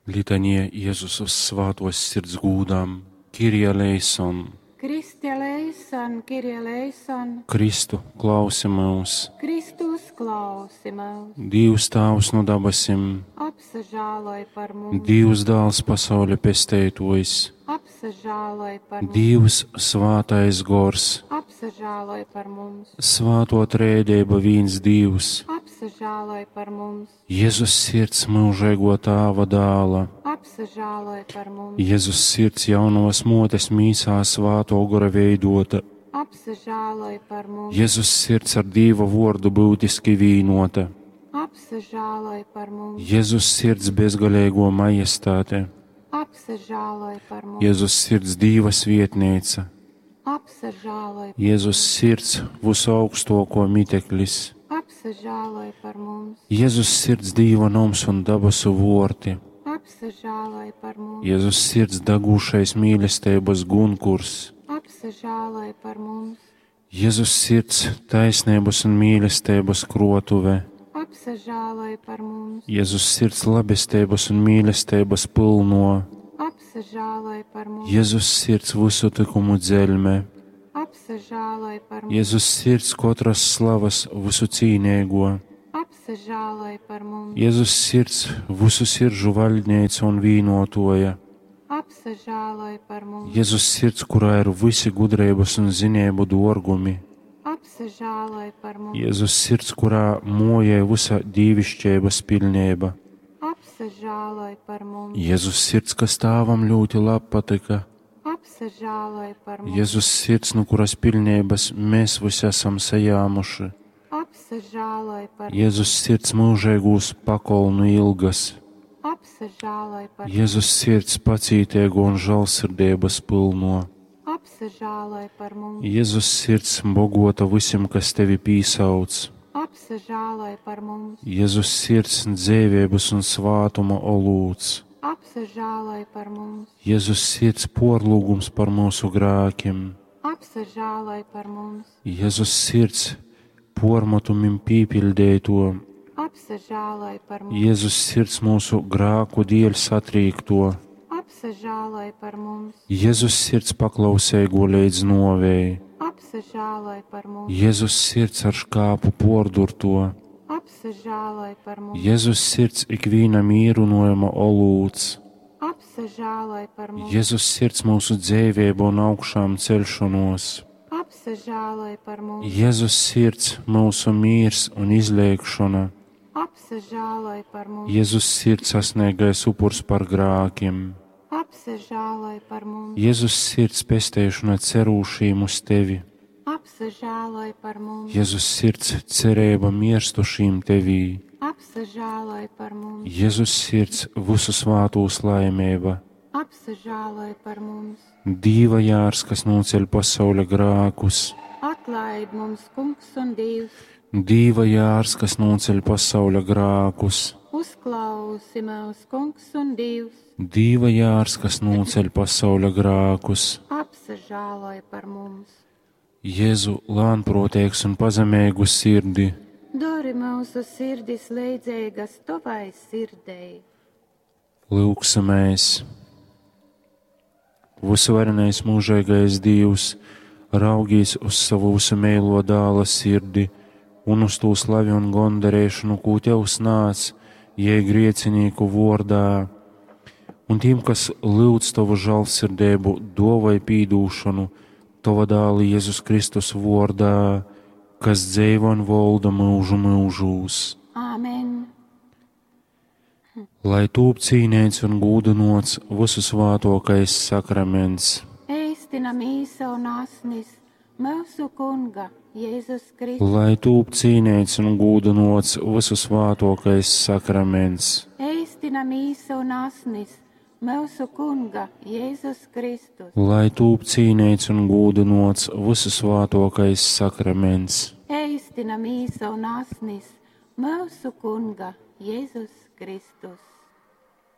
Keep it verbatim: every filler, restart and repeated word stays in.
Litanija Jezus Svātuos Sirds gūdam, Kyrie eleison! Kriste eleison, Kyrie eleison! Kristu, klausi myus! Kristu, uzklausi myus! Dīvs Tāvs nu dabasim, Apsažāloj par mums! Dīvs Dāls pasauļa pesteituojs, Apsažāloj par mums! Dīvs Svātais Gors, Apsažāloj par mums! Svātuo Trejadeiba vīns Dīvs, Apsažāloj par mums! Jezus Sirds myužeiguo Tāva dāla, Apsažāloj par mums! Jezus Sirds jaunovas muotes mīsā Svātuo Gora veiduota, Apsažāloj par mums! Jezus Sirds ar Dīva vuordu byutiski vīnuota, Apsažāloj par mums! Jezus Sirds bezgaleiguo majestāte, Apsažāloj par mums! Jezus Sirds Dīva svietneica, Apsažāloj, Jezus Sirds vysuaugstuokuo miteklis, apsažāloj par mums! Jezus Sirds Dīva noms un dabasu vuorti, Apsažāloj par mums! Jezus Sirds dagūšais mīlesteibys gunkurs, Apsažāloj par mums! Jezus Sirds taisneibys un mīlesteibys kruotuve, Apsažāloj par mums! Jezus Sirds labesteibys un mīlesteibys pylnuo, Apsažāloj par mums! Jezus Sirds vysu tykumu dzeļme, Apsažāloj par mums! Jezus Sirds kotras slavas vysu cīneiguo, Apsažāloj par mums! Jezus Sirds vysu siržu vaļdneica un vīnuotuoja, Apsažāloj par mums! Jezus Sirds, kurā ir vysi gudreibys un zineibu duorgumi, Apsažāloj par mums! Jezus Sirds, kurā muojai vysa dīviškeibys piļneiba, Apsažāloj par mums! Jezus Sirds, kas Tāvam ļūti labpatyka, Apsažāloj par mums! Jezus Sirds, nu kuras piļneibys mēs vysi asam sajāmuši, Apsažāloj par mums! Jezus Sirds myužeigūs pakolnu ilgas, Apsažāloj par mums! Jezus Sirds pacīteigo un žālsirdeibys pylnuo, Apsažāloj par mums! Jezus Sirds bogota vysim, kas tevi pīsauc, Apsažāloj par mums! Jezus Sirds dzeiveibys un svātuma olūts, Apsažāloj par mums! Jezus Sirds puorlyugums par myusu grākim, Apsažāloj par mums! Jezus Sirds puormatumim pīpiļdeituo, Apsažāloj par mums! Jezus Sirds myusu grāku dieļ satrīkto, Apsažāloj par mums! Jezus Sirds paklauseigo leidz nuovei, Apsažāloj par mums! Jezus Sirds ar škāpu puordurto, Apsažāloj par mums! Jezus Sirds ikvīna mīrunojuma olūts, Apsažāloj par mums! Jezus Sirds myusu dzeiveiba un augšām ceļšonuos, Apsažāloj par mums! Jezus Sirds myusu mīrs un izleigšona, Apsažāloj par mums! Jezus Sirds sasniegais upurs par grākim, Apsažāloj par mums! Jezus Sirds pesteišona cerūšīm uz tevi, Apsažāloj par mums! Jezus Sirds cereiba mierstušīm tevī, Apsažāloj par mums! Jezus Sirds vysu svātūs laimeiba, Apsažāloj par mums! Dīva jārs, kas nūceļ pasauļa grākus, Atlaid mums, Kungs un Dievs! Dīva jārs, kas nūceļ pasauļa grākus, Uzklausi mūs, Kungs un Dievs! Dīva jārs, kas nūceļ pasauļa grākus, Apsažāloj par mums! Jēzu lānproteigs un pazemeigu sirdi, Dori mūsu sirdis leidzīgas tavai sirdei. lūgsimies! Visuvarenais mūžīgais Dievs, raugīs uz savu visu meilo dāla sirdi un uz tū slavi un gondarēšanu, kū tev snāc, jei griecinīku vordā, un tiem, kas lūdz tavu žālsirdību, dovai pīdūšanu, tava dāla Jēzus Kristus vordā, kas dzeivo un volda mūžu mūžūs. Āmen! Lai tūp cīnēts un gūdinots visu svātokais sakraments, Eistina mīsa un asnis mūsu Kunga Jēzus Kristus. lai tūp cīnēts un gūdinots visu svātokais sakraments, Eistina mīsa un asnis mūsu Kunga Jēzus Kristus. lai tūp cīnēts un gūdinots visu svātokais sakraments, Eistina mīsa un asnis mūsu Kunga Jēzus Kristus.